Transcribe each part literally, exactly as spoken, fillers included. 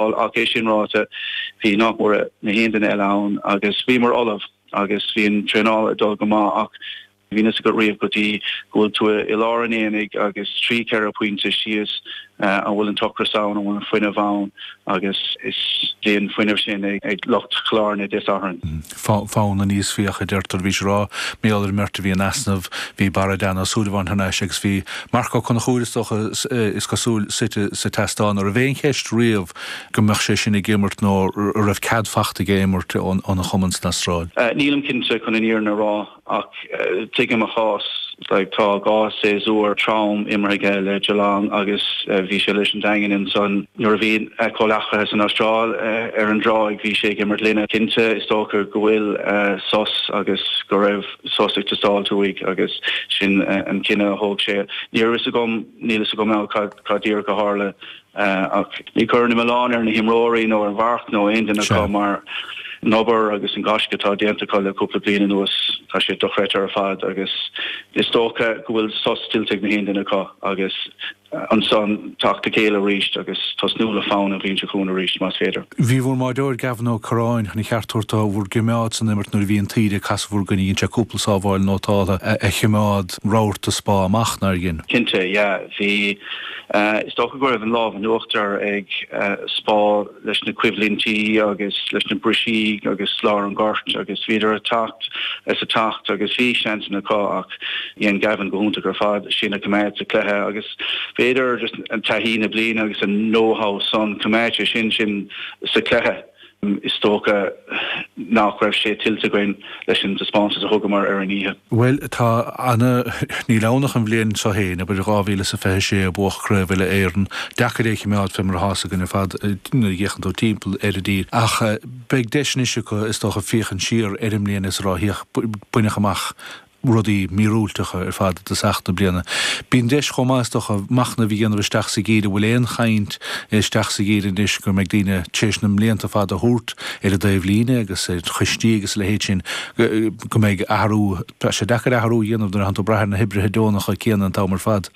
Ach é sin ráite, bhí nach mór na haon duine eile ann agus bhíomar ullamh agus bhí an traenáil ag dul go maith, ach bhí fhios agat riamh go dtí go bhfuil tú i lár an aonaigh agus trí ceithre pointe síos, an bhfuil an t-ocras ann, an bhfuil an fuinneamh ann, agus is bhí an fuinneamh sin ag lucht Chill Airne Dé Sathairn. Fonn aníos fiach a deirtear. Bhí sé rá mar gheall ar an mbeirt a bhí in easnamh, bhí Barra Dan Ó Súilleabháin thar n-ais agus bhí Marc Ó Conchúir, is dócha, is cosúil, suite sa tseastán. An raibh aon cheist riamh go mbeadh sé sin ag imirt nó a raibh cead fachta aige imirt óna chumann san Astráil? Nílim cinnte chun an fhírinne a rá, ach tuigim a chás. Like, tá dhá séasúr trom imeartha aige le Geelong agus bhí sé leis an Daingean ansan nuair a bhí a chomhleacaithe san Astráil ar an dtráigh, bhí sé ag imirt linne. Cinnte, is dócha go bhfuil sos agus go raibh sos ag teastáilt uaidh agus sin an cinneadh a thóg sé. Ní raibh fhios agam, níl fhios agam now cad díreach a tharla. Ach ní chuirfinn an milleán ar na himreoirí nó ar Mharc nó aon duine acu mar an obair agus an gaisce atá déanta acu le cúpla bliain anuas, tá sé dochreidte ar fad agus is dócha go bhfuil sos tuillte ag na haon duine acu agus ansan teacht le chéile arís agus tosnú le fonn an bhliain seo chugainn arís más féidir. Bhí bhur mbáireoir Gavin Ó Curráin chun a cheart tabhairt dó bhur gcimeád san imirt nuair a bhí an taoide ag casadh bhur gcoinne, dhein sé cúpla sábháil nótáltha a chimeád rabharta Spá amach, nár dhein? Cinnte, yeah. Bhí, is dócha go raibh an lámh in uachtar ag Spá leis na coimhlintí agus leis na brisí agus lár an ghoirt agus bhíodar ag teacht is ag teacht agus bhí seansanna acu ach dhein Gavin go hiontach ar fad sinn a choimeád sa chluiche agus b'fhéidir just an taithí na bliana agus an know-how san, choimeád sé sin sinn sa chluiche. Is dócha nach raibh sé tuillte againn leis an taispeántas a thugamar ar an oíche. Bhuel, tá ana, níl ann ach an bhliain seo féin, abair dhá mhíle is a fiche sé a buadh Craobh Uile-Éireann. Deacair é a chimeád fé mar atá's againn ar fad nuair a fhéachann tú timpeall ar an dtír. Ach beidh deis anois acu, is dócha, féachaint siar ar an mbliain is a rá, féach, baineadh amach rudaí míorúilteacha ar fad i dtosach na bliana. Bíonn deis chomh maith, is dócha, machnamh a dhéanamh isteach sa gheimhreadh. Bhfuil aon chaint isteach sa gheimhreadh anois go mbeidh daoine tar éis na mblianta fada a thabhairt ar an dtaobhlíne agus ar choistí agus a leithéid sin, go mbeidh athrú, tá sé deacair athrú a dhéanamh nuair atánn tú ag brath ar na hoibrithe deonacha céanna an t-am ar fad.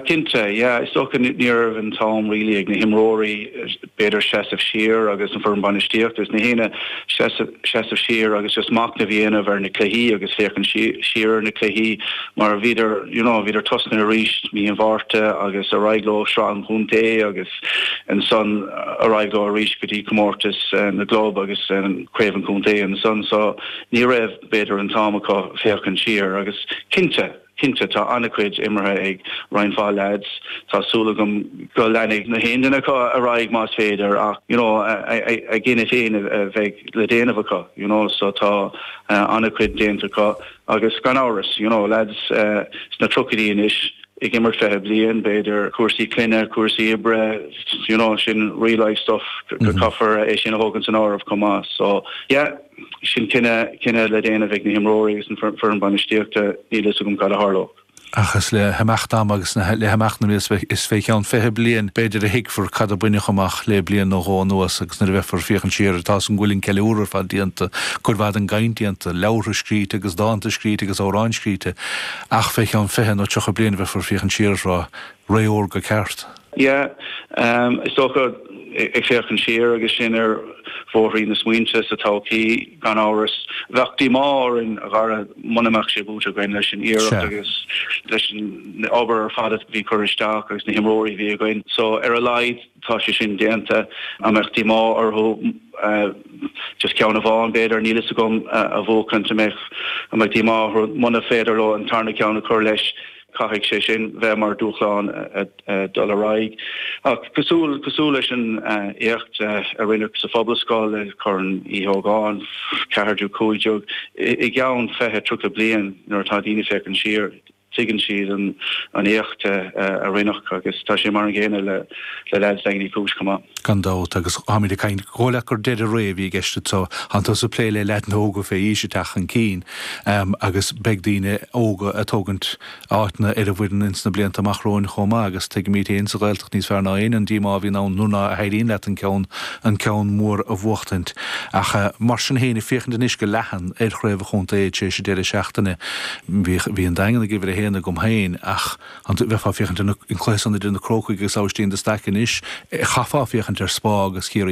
Cinnte, yeah. Is dócha ní raibh an t-am really ag na himreoirí b'fhéidir seasamh siar agus an foireann bainistíochta agus na héinne seasamh siar agus just machnamh a dhéanamh ar na cluichí agus féachaint siar ar na cluichí mar bhíodar, you know, bhíodar tosnaithe arís mí an Mhárta agus ar aghaidh leo sraith an chontae agus ansan ar aghaidh leo arís go dtí comórtas na gclub agus craobh an chontae ansan, so ní raibh b'fhéidir an t-am acu féachaint siar agus cinnte, Cinnte, tá an-chuid imeartha ag roinnt mhaith leaids. Tá súil agam go leanfaidh na haon duine acu ar aghaidh más féidir ach you know a gcinneadh féin a bheidh le déanamh acu you know so tá an-chuid déanta acu agus gan amhras you know leaids sna tríochaidí anois ag imirt fiche bliain, b'fhéidir cúrsaí clainne, cúrsaí oibre, you know sin real life stuff go caithfear é sin a thógaint san áireamh chomh maith so yeah. Sin cinneadh, cinneadh le déanamh ag na himreoirí agus an foireann bainistíochta, níl fhios agam cad a tharlódh. Ach is le himeacht ama agus le himeacht na mblianta, is fé cheann fiche bliain b'fhéidir a thuigfear cad a baineadh amach le bliain nó dhó anuas agus nuair a bheifear ag féachaint siar ar, tá's agam go bhfuil an ceiliúradh ar fad déanta, cuid mhaith den gcaint déanta, leabhartha scríte agus dánta scríte agus amhráin scríte, ach fé cheann fiche nó tríocha bliain a bheifear ag féachaint siar is rá, ré órga ceart. Yeah, is dócha ag féachaint siar agus sinn ar bhóithrín na smaointe sa todhchaí, gan amhras. Bheadh díomá orainn, a Dhara, muna mbeadh sé buaite againn leis an iarracht agus leis an obair ar fad a bhí curtha isteach agus na himreoirí a bhí againn. So, ar a laghad, tá sé sin déanta. An mbeadh díomá orthu just ceann amháin, b'fhéidir, níl fhios agam, a bhuachaint? An mbeadh, an mbeadh díomá orthu muna féidir leo an tarna ceann a chur leis? Caithfidh sé sin bheith mar dúshlán dul ar aghaidh. Ach cosúil, cosúil leis an éacht a rinneadh sa Phobalscoil le Corn Uí Ógáin, ceathair déag, cúig déag, i gceann fiche, tríocha bliain nuair atá daoine ag féachaint siar, tuigeann siad an éacht a rinneadh agus tá sé mar an gcéanna le leaids Daingean Uí Chúis chomh maith. Gan dabht, agus táimid ag caint, dhóigh leat gur deireadh ré a bhí i gceist anseo. Tánn tusa ag plé le leaideanna óga fé aois ag teacht chun cinn agus beidh daoine óga ag tógaint áiteanna ar an bhfoireann ins na blianta amach romhainn chomh maith agus tuigimid féin sa Ghaeltacht níos fearr ná éinne an díomá a bhíonn ann nuair ná héiríonn leat an ceann an ceann mór a bhuachtaint. Ach mar sin féin, ag féachaint anois go leathan ar chraobh an chontae tar éis an deireadh seachtaine, bhí bhí an Daingean ag uimhir a haon haon agam féin ach an bheifeá féachaint an cluiche san idir na Crócaigh agus Aibhistín de Staic anois chaithfeá féachaint ar Spa agus Ciarraí